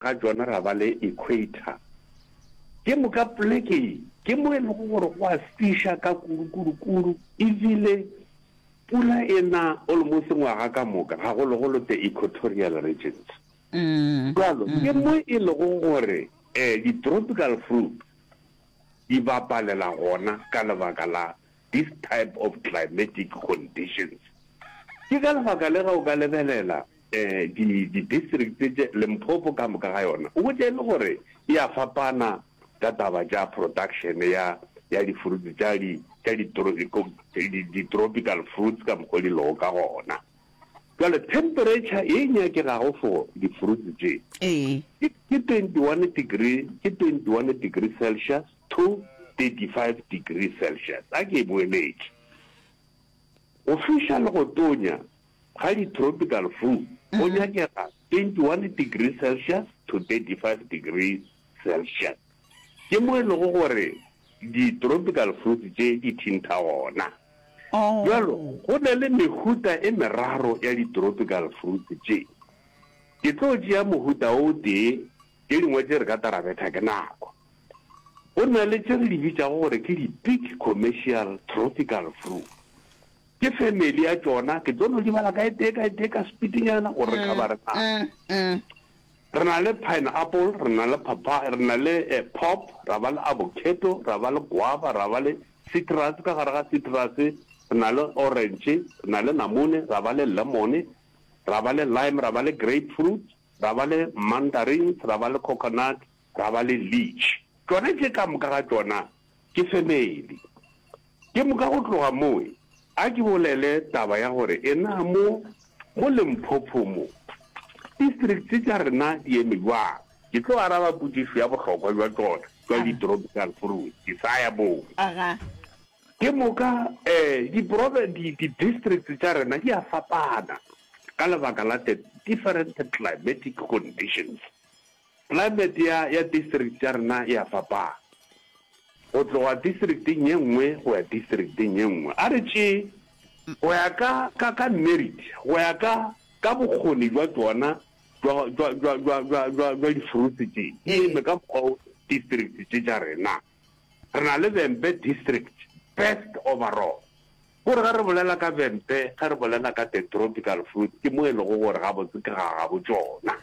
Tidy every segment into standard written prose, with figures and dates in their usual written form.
ga tšona ra ba le equator. Ke moka poleke ye ke mo e lego gore go a fiša ka kudu-kudu-kudu ebile pula e na almost ngwaga ka moka, gagologolo the equatorial regions. Bjalo ke mo e lego gore di-tropical fruit di bapalela gona ka lebaka la this type of climatic conditions. Ke ka lebaka le ge o ka lebelela di di-district tše Limpopo ka moka ga yona, o hwetša e le gore e a fapana ka taba tša production ya ya di-fruits tša di tša di di-tropical fruits ka mokgwa di lego ka gona. Bjale temperature ye e nyakegago for di-fruits tše Ee. ke ke 21 degree ke 21 degree Celsius to 35 degree Celsius. A ke e boeletše. Go fiša le go tonya ga di-tropical fruit go nyakega 21 degree Celsius to 35 degree Celsius. Ke mo e lego gore di-tropical fruits tše di thintha gona. Bjalo, go na le mehuta e meraro ya di-tropical fruits tše. Ke tlo tšea mohuta o tee, tše dingwe tše re ka tla ra betha ke nako. Go na le tše re di bitšago gore ke di-big commercial tropical fruit. Ke family ya tšona, ke tlo no di bala ka e tee ka e tee ka speed-nyana gore re cover-e nako. Re na le pineapple, re na le papaya, re na le pop, ra ba le avocado, ra ba le guava, ra ba le citrus, ka gare ga citrus re na le orange, re na le namune, ra ba le lemon, ra ba le lime, ra ba le grapefruit, ra ba le mandarins, ra ba le coconut, ra ba le leech. Tšona tše ka moka ga tšona ke family. Ke moka go tloga mowe, a ke bolele taba ya gore e na mo, mo Limpopo mo, districts tša rena di eme bjang. Ke tlo araba potšišo ya bohlokwa bja tšona, bja di-tropical fruits, ke sa ya moo. Ke moka um di, di-districts tša rena di a fapana ka lebaka la the different climatic conditions. Climate ya, ya district tša rena e a fapana go tloga districteng ye nngwe go ya districteng ye nngwe. A re tšee go ya ka, ka, ka merit, go ya ka, ka bokgoni bja tšona bja, bja, bja, bja, bja, bja, bja di-fruits tše, di eme ka mokgwa wo district tše tša rena. Re na le Vhembe district, best overall. Kore ge re bolela ka Vhembe, ge re bolela ka the tropical fruit, ke mo e lego gore gabotse ke ga gabo tšona.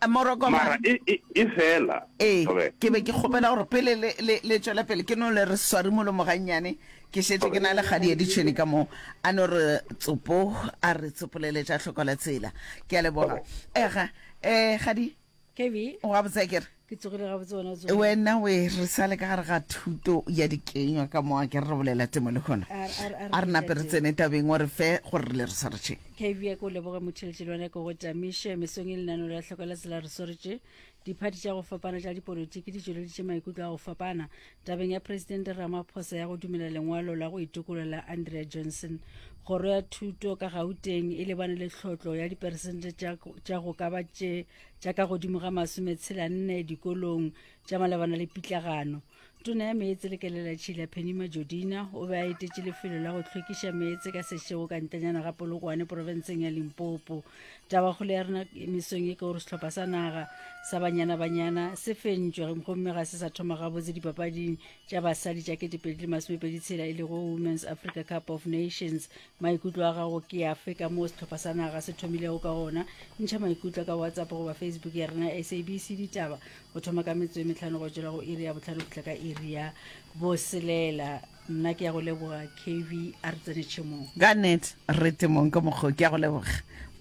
Morokoma. Mara e, e, e fela. Ee, Thobela. ke be ke kgopela gore pele le, le, le tšwela pele, ke no le re swari molomo gannyane. Ke šetše ke na le kgadi ya ditšhwene ka mo, a no re tsopo, a re tsopolele tša hloko la tsela. Ke a leboga. Ega, eh, kgadi. KB. O gabotse akere? Ke tsogile gabotse wena o tsogile. Wena we re sa le ka gare ga thuto ya dikenywa ka mo a ke re bolela temo le gona. A re nape re tsene tabeng o re fe gore re le re swaretše. KB a ke o leboge motheletše le wena ke go tamiše mesong e lenaneo la hloko la tsela re swaretše diphathi tša go fapana tša dipolotiki di tšweleditše maikutlo a go fapana tabeng ya Presidente Ramaphosa ya go dumela lengwalo la go itokolola la Andrea Johnson. Kgoro ya Thuto ka Gauteng e lebane le tlhotlo ya diperesente tša go ka ba tše tša ka godimo ga masometshela-nne dikolong tša malebana le pitlagano. Tona ya Meetse le Kelelatšhila Penny Majodina o be a etetše lefelo la go hlwekiša meetse ka sešego ka ntlenyana ga Polokwane profenseng ya Limpopo. Tabakgolo ya rena mesong ye ke gore sehlopha sa naga sa Banyana Banyana se fentšwe gomme ga se sa thoma gabotse dipapading tša basadi tša 2026 e lego Women's Africa Cup of Nations. Maikutlo a gago ke afe ka moo sehlopha sa naga se thomilego ka gona? Ntšha maikutlo ka WhatsApp goba Facebook ya rena SABC Ditaba go thoma ka metsotso e mehlano go tšwela go iri ya bohlano go fihla ka iri ya boselela. Nna ke ya go leboga KV a re tsene tšhemong. Ka nnete re temong ka mokgo ke ya go leboga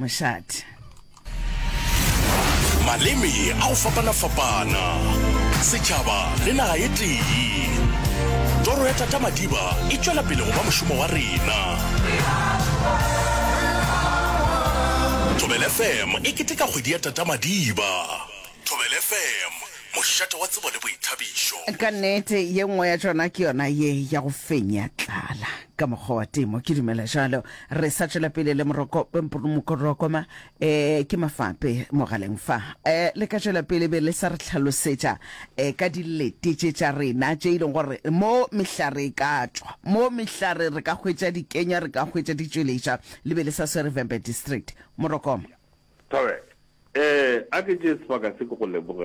mošate. Maleme a go fapana-fapana, setšhaba le naga ye tee. Toro ya Tata Madiba e tšwela pele go ba mošomo wa rena. Thobela FM e keteka kgwedi ya Tata Madiba. Thobela FM, mošate wa tsebo le boithabišo. Ka nnete, ye nngwe ya tšona ke yona ye ya go fenya tlala ka mokgwa wa temo. Ke dumela jalo. Re sa tšwela pele le moroko, mokorokoma, eh, ke mafape mogaleng fa. Eh, le ka tšwela pele be le sa re hlalosetša eh, ka dilete tše tša rena tše e leng gore mo mehlare e ka tšwa, mo mehlare re ka hwetša dikenya, re ka hwetša ditšweletša, le be le sa swere Vhembe District. Morokoma. Thobela. Eh, a ke tšee sebaka se ke go leboge.